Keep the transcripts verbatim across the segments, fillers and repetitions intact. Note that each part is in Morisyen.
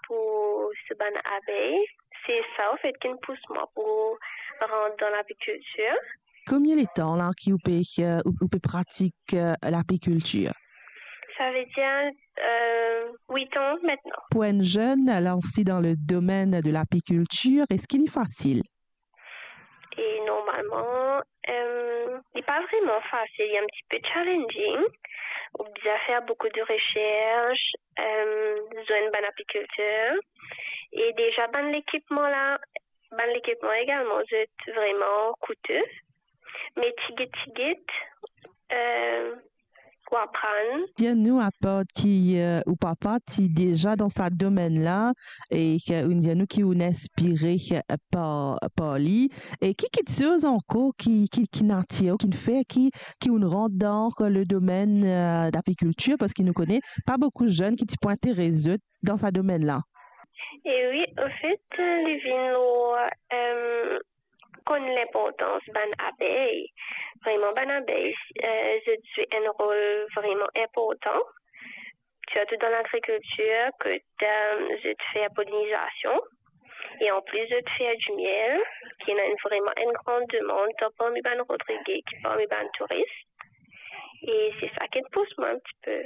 pou so bann abey. Se sa, anfet, ki'nn pous mwa pou rant dan lapikiltir. Konbien letan la ki ou pe, eh, ou, ou pe pratik, eh, lapikiltir? Savedir, eh, wit an aster. Pou enn zenn lanse dan le domenn de lapikiltir, eski li fasil? E normalman, eh, li pa vreman fasil, li enn tipe challenging. Ou bizin fer boukou de resers, eh, zwenn bann apikiltir. E deza bann lekipman la, bann lekipman egalman, zot vreman koute. Me tigit tigit, eh, pou aprann. Dir nou, apar ki, eh, ou papa ti deza dan sa domenn la, e ki, ou'nn dir nou ki ou'nn inspire, eh, par, par li, e ki kiksoz ankor ki, ki, ki'nn atir ou, ki'nn fer ki, ki ou'nn rant dan le domenn, eh, lapikiltir, parski nou kone pa boukou zenn ki ti pou interes zot dan sa domenn la. E wi, anfet, li vinn lor, eh, konn linportans bann abey. Vreman, bann abey, eh, zot zwe enn rol vreman inportan, sirtou dan lagrikiltir, kot, eh, zot fer polinizasion, e anplis zot fer dimiel, ki ena enn, vreman enn gran demann, tan parmi bann Rodrige ki parmi bann touris. E se sa ki'nn pous mwa enn tipe.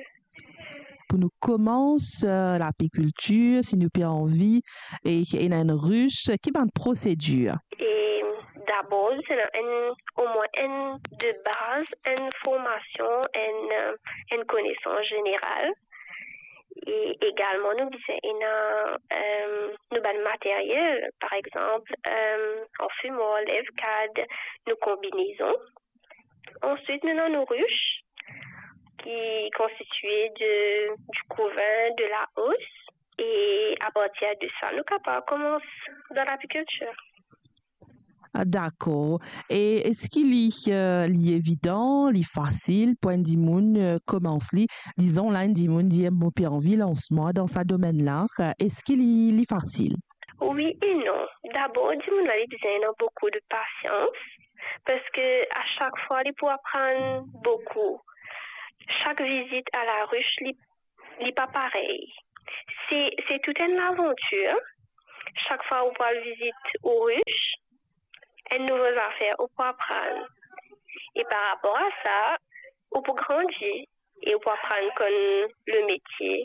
Pou nou koumans, eh, lapikiltir, si nou pe anvi, e, e ena enn ris, ki bann prosedir? E dabor, zis ena enn, omwin enn de baz, enn formasion, enn, eh, enn konesans zeneral. E egalman, nou bizin ena, eh, nou bann materyel, par exanp, eh, anfimwar, levkad, nou konbinezon. Answit, nou ena nou ris, ki konstitie de, di kouvin, de laos, e apartir de sa, nou kapav koumans dan lapikiltir. Ah, dakor. E eski li, eh, li evidan, li fasil pou enn dimoun, eh, koumans li? Dizon la, enn dimoun dir, "Mo pe anvi lans mwa dan sa domenn la." Eh, eski li, li fasil? Wi e non. Dabor, dimoun la, li bizin ena boukou de pasians, parski a sak fwa, li pou aprann boukou. Sak vizit a laris, li, li pa parey. Se, se tou enn lavantir. Sak fwa ou pou al vizit ou ris, enn nouvo zafer ou pou aprann. E par rapor a sa, ou pou grandi e ou pou aprann konn lemetie.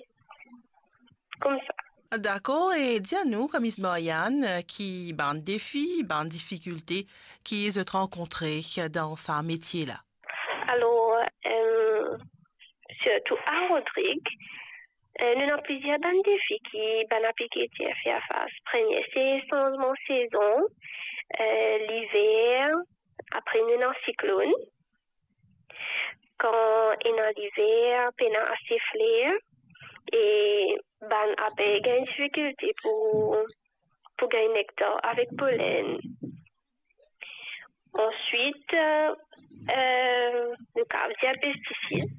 Koumsa. Dakor, e dir nou, Miss Marianne, ki bann defi, bann difikilte ki zot rankontre dan sa metie la? Alor, eh, sirtou a Rodrig, eh, nou ena plizier bann defi ki bann apikiltir fer fas. Premie, se sanzman sezon, eh, liver, apre nou ena siklonn. Kan ena liver, pena ase fler, e bann abey gagn difikilte pou, pou gagn nektar avek polenn. Answit, eh, nou kapav dir pestisid,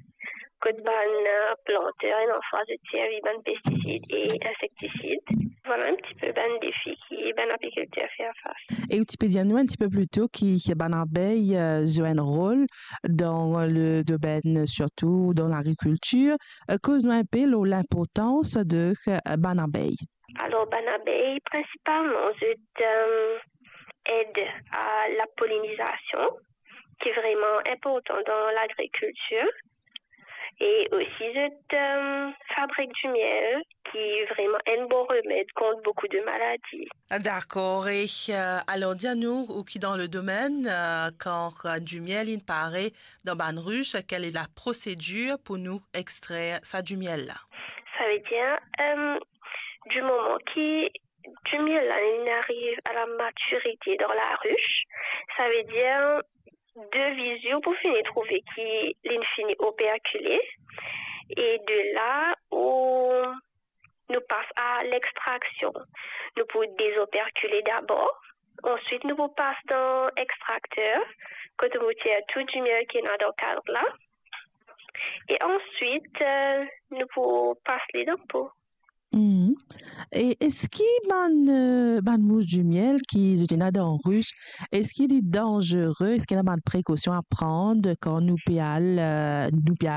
kot bann, eh, planter ena fwa zot servi bann pestisid e insektisid. Vwala enn tipe bann defi ki bann apikiltir fer fas. E ou ti pe dir nou enn tipe plito ki bann abey, eh, zwe enn rol dan le domenn, sirtou dan lagrikiltir. Eh, koz nou enpe lor linportans de, eh, bann abey. Alor, bann abey, prinsipalman, zot, eh, ed a lapolinizasion, ki vreman inportan dan lagrikiltir. E osi, zot, eh, fabrik dimiel, ki vreman enn bon remed kont boukou de maladi. Dakor. E, eh, alor, dir nou, ou ki dan le domenn, eh, kan, eh, dimiel inn pare dan bann ris, kale laprosedir pou nou extrer sa dimiel la? Savedir, eh, di moman ki dimiel la, linn ariv a lamatirite dan laris, savedir, de viz ou pou fini trouve ki linn fini operkile, e de la ou nou pas a lextraksion. Nou pou dezoperkile dabor, answit nou pou pas dan extrakter, kot nou pou tir tou dimiel ki ena dan kad la, e answit, eh, nou pou pas li dan po. Mhm. E eski bann, eh, bann mous dimiel ki zot ena dan ris, eski li danzere? Eski ena bann prekosion a pran kan nou pe al, eh, nou pe